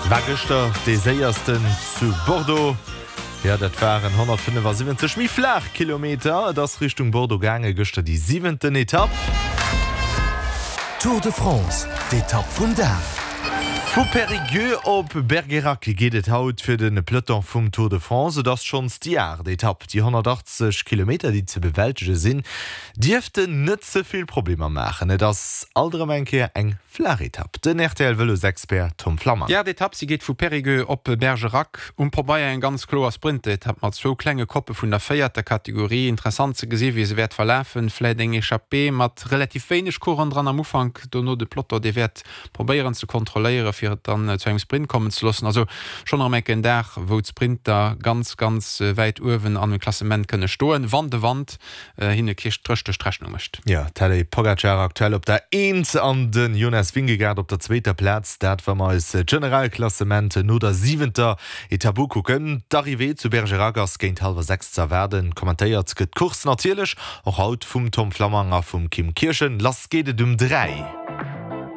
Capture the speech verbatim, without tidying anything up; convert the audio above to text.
War gëschter dee séiersten zu Bordeaux. Jo, dat waren honnertfënnefasiwwenzeg méi flaach Kilometer. Et ass Richtung Bordeaux gaange gëschter déi siwenten Etapp. Tour de France, d'Etapp vum Dag. Vu Périgueux op Bergerac geet et haut fir de Peloton vum Tour de France. Et ass schonns déi aacht Etapp. Déi honnertachtzeg Kilometer, déi ze bewältege sinn, dierften net ze vill Problemer maachen. Et ass alt erëm eng Kéier eng flaach Etapp. Den R T L-Vëlosexpert Tom Flammang. Déi aacht Etapp, si geet vu Périgueux op Bergerac. Um Pabeier eng ganz kloer Sprintetapp mat zwou klenge Koppe vun der véierter Kategorie. Interessant ze gesi wéi se wäert verlafen. Vläit eng Echappée mat relativ wéineg Coureuren dran am Ufank, dono de Peloton, dee wäert probéieren ze kontrolléieren, fir et dann zu engem Sprint kommen ze loossen. Also schonn erëm enk en Dag, wou d'Sprinter ganz, ganz wäit uewen an dem Klassement kënne stoen, wann de Wand hinne kee Stréch duerch d'Rechnung mécht. Jo, Tadej Pogacar aktuell op der Eent an de Jonas Vingegaard op der zweeter Plaz. Dat wa mer eis d'Generalklassement no der siwenter Etapp ukucken. D'Arrivée zu Bergerac ass géint hallwer sechs ze erwaarden. Kommentéiert gëtt d'Course natierlech och haut vum Tom Flammang a vum Kim Kirchen. Lass geet et um dräi.